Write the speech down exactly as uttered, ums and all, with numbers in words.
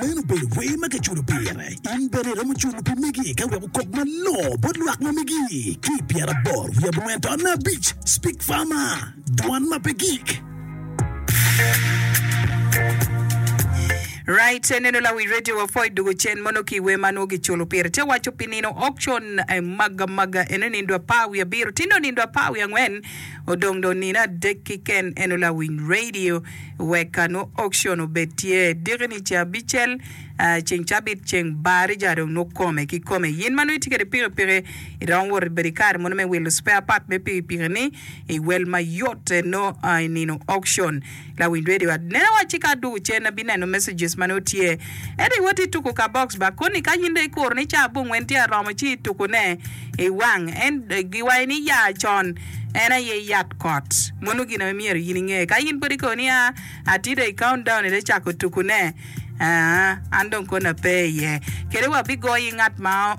Meno obedo wer ma kiculo pire. In bene iromo culo pi megi ka wek okok malongo bot lwak ma megi. Ki i pyeraboro wiye abongwen taun abic, Speak Farmer, dwan ma pe gik. Right, neno lawi radio wa pwoy dugo cen mono ki wer ma nongo giculo pire. Te waco pi nino auction eh, maga maga eno nindo apar wiye abiro tindo nindo apar wiye angwen odong dong nino adek kiken eno lawiny radio wek ka nongo auction obed tye diki ni ceng abicel Ceng cabit ceng barija dong nongo kome ki kome. Yin ma nongo itye kwede pikipiki iromo wot ibedo i kare mono me wilo spare part me pikipiki ni i wel mayot nongo i nino auction. Lawiny radio anena wacci ka adwogo cen abineno messages ma nongo tye. Ento iwoti ituko ka box ba koni ka yin dong ikuro ni ca abongwen tye aromo ci ituko ne iwang en giwaco ni ya con en aye yat kot. Mono gin aye myero yin inge. Ka yin pud ikobo ni a atye dong i count down ite cako tuko ne. Aa, an dong kona pe iye. Kede wabigoyi ngat ma